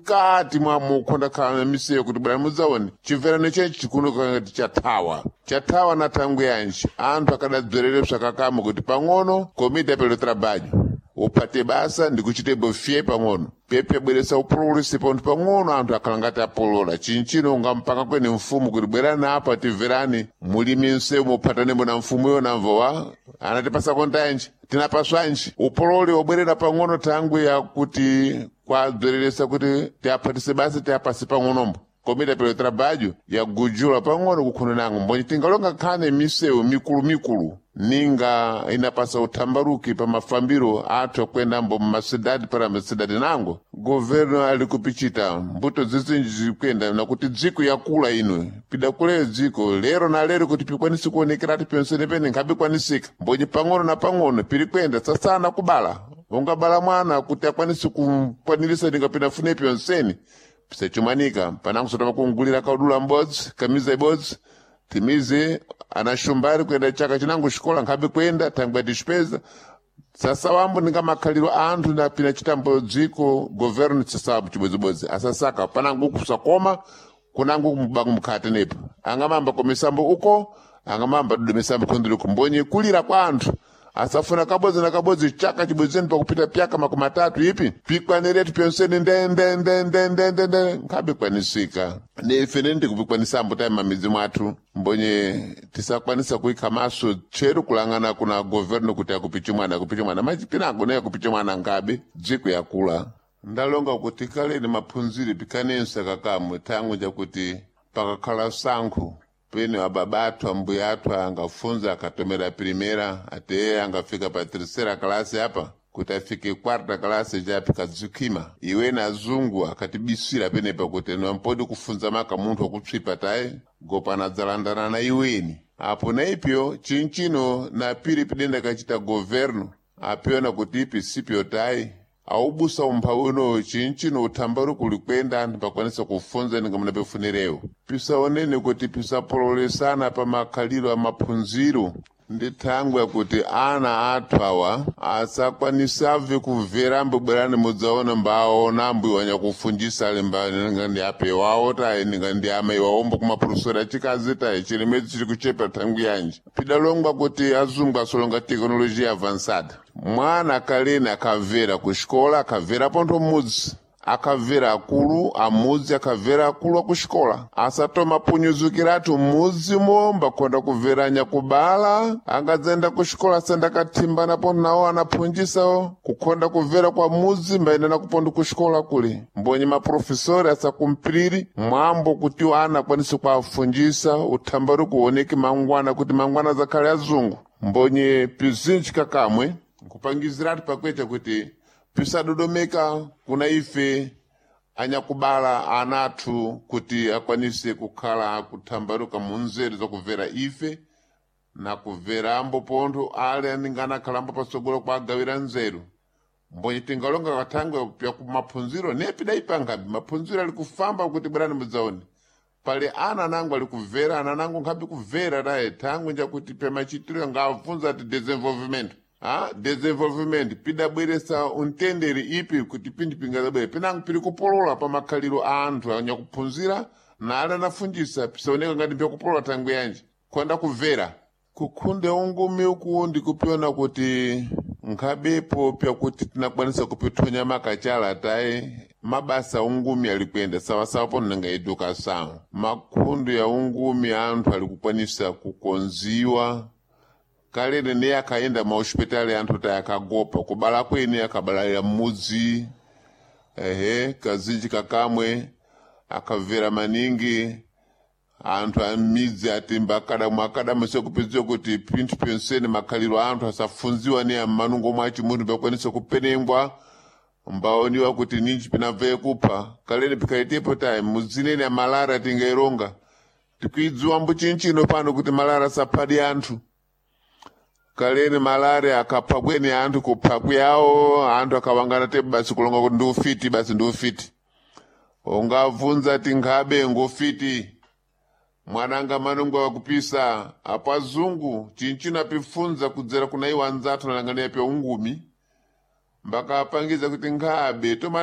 Mkati mwa mukhonda khala misewu kuti bwerani mudzaone chimverano chechi chikuoneka ngati chathawa, chathawa na thangwi yanji. Anthu akadadzwerere bzakakamwe kuti pang'ono komiti apelo trabalho uphate basa ndikuchite bofye pang'ono pepe bweresa upululisi pontho pang'ono, anthu akhala ngati apolola chinchino. Ungampaka kwene mfumu kuti bwerani apa, timverani mulimi msewu muphatanemo na mfumuyo, namvo wa anatipasa kontanji, tinapaswanji upololi wobwerera pang'ono thangwi yakuti kwadzwereresa kuti tiaphatise basa, tiapase pang'onombo. Komiti apelo trabalho yagujula pang'ono kukhuna nango mbonye tingalonga nkhani misewu mikulumikulu ninga inapasa uthambaruki pa mafambiro athu akwendambo mmasidadi para masidadi nango governo ali kupichita mbuto zizinji zikuyenda nakuti dziko yakula ino pidakuleyo dziko lero na lero kuti pikwanise kuonekerati pensenepene nkhabikwanisika mbonye pang'ono na pang'ono piri kwenda sasana kubala ungabala mwana kuti akwanise kukwanirisa ningapinafune pyonseni pisachumanika panango sotama kungulira kaudula m'bodzi, kamiza ibodzi, timize anashumbari kuenda chaka chinango xikola nkhabe kwenda thangwi atixipeza sasa wambo ninga makhaliro a anthu napina chitambo dziko governo chisabu chibodzibodzi asasaka panango kusakoma kunango kumbango mkhate nepo angamamba komisambo uko angamamba dudumisambo khundiliko mbonye kulira kwa anthu asafuna kabodzi na kabodzi chaka chibodzeni pakupita pyaka 30 ipi pikwaniretu pyonseni ndendendendendende nkhabikwanisika nife nende kupikwanisambo tayi mamidzi mwathu mbonye tisakwanisa kuikha maso tcheru kulang'ana kuna governo kuti akupiche mwana, akupiche mwana machi pinango naye akupiche mwana ngabe dziko yakula. Ndalonga kuti kaleni maphunziro pikanenso kakamwe thangwi jakuti pakakhala sankho pene ababa athu, ambuya athu angafunza akatomera primera ateye angafika pa terceira klase apa kuti afike quarta klase chapi kadzikhima iwe na azungu akatibisira penepa kuti nampodi kufunza maka munthu akutswipa tayi gopana dzalandana na iweni apo na ipyo chinchino na piri pidenda kachita governo apiona kuti ipi sipyo tayi aubusa umphawi unowo chinchino uthambari kuli kwenda anthu pakwanisa kufunza ninga munapefunerewo pisaonene kuti pisapololesana pa makhaliro a maphunziro ndi thangwi yakuti ana athu awa asakwanisave kumvera ambo bwerani mudzaona mbaona ambuyi wanyakufunjisa ali mba ninga ndi ape wawo tayi ninga ndi amayi wawombo kumapulosera chikazi tayi chilemedzi chili kuchepa thangwi yanji pidalongwa kuti azungu asolonga tekinolojiya avançada mwana kaleni akamvera ku xikola, akamvera pontho mudzi, akamvera akulu amudzi, akamvera akulu akuxikola, asatoma punyuzukiratu m'mudzimo mbakhonda kumvera nyakubala angadzenda kuxikola asenda kathimbana pontho nawo anaphunjisawo kukhonda kumvera kwa mudzi mbayenda nakupontho kuxikola kuli mbonye maprofesori asakumpiriri mwambo kuti ana akwanise kuafunjisa uthambari kuoneke mangwana kuti mangwana zakhale azungu mbonye pizinji kakamwe nkupangiziratu pakwecha kuti pisadodomeka kuna ife anyakubala anathu kuti akwanise kukhala kuthambaluka mu nzeru zakubvera ife na kubverambo pontho ale aninga anakhalambo patsogolo kwa agawira nzeru mbonye tingalonga kathangwe pya kumaphunziro nepidayipangabe maphunziro ali kufamba kuti bwerani mudzaone pali ana anango ali kubvera ana anango nkhabe kubvera taye thangwe njakuti pemachitiro ngabvunza ati desenvolvimento a desenvolvimento pidabweresa untendere ipi kuti pindi pingazabwere pinango piri kupolola pa makhaliro a anthu anyakuphunzira na ale anafunjisa pisaoneka ngati mpyakupolola thangwe yanji khonda kubvera kukhunde ungumi uku ndikupiona kuti nkhabepo pyakuti tinakwanisa kupithonya makachala tayi mabasa ungumi ali kuyenda sawasawa pono nanga edukação makhundu ya ungumi anthu ali kukwanisa kukonziwa kalene ne akayenda mahospitali anthu tayi akagopa kubala kwene akabalalira m'mudzi ehe kazinji kakamwe akabvera maningi anthu amidzi atimba akadamu akadamu sekupedziwa kuti pinthu pyonsene makhaliro a anthu asafunziwa ni ammanungo mwachi munthu pakwanisa kupenengwa mbaoniwa kuti ninji pinabvaye kupha kalene pikaitepo tayi mudzinene amalara tingaironga tikuidziwa mbuchinchino pano kuti malara saphadi anthu kalene malare akapha kweni anthu kupha kuyawo anthu akawangana te basi kulonga kuti ndiufiti basi ndiufiti ungabvunza tinkhabe ngufiti mwananga manungo wakupisa apo azungu chinchino apifunza kudzera kuna iwo anzathu analangania pya ungumi mbakapangiza kuti nkhabe toma.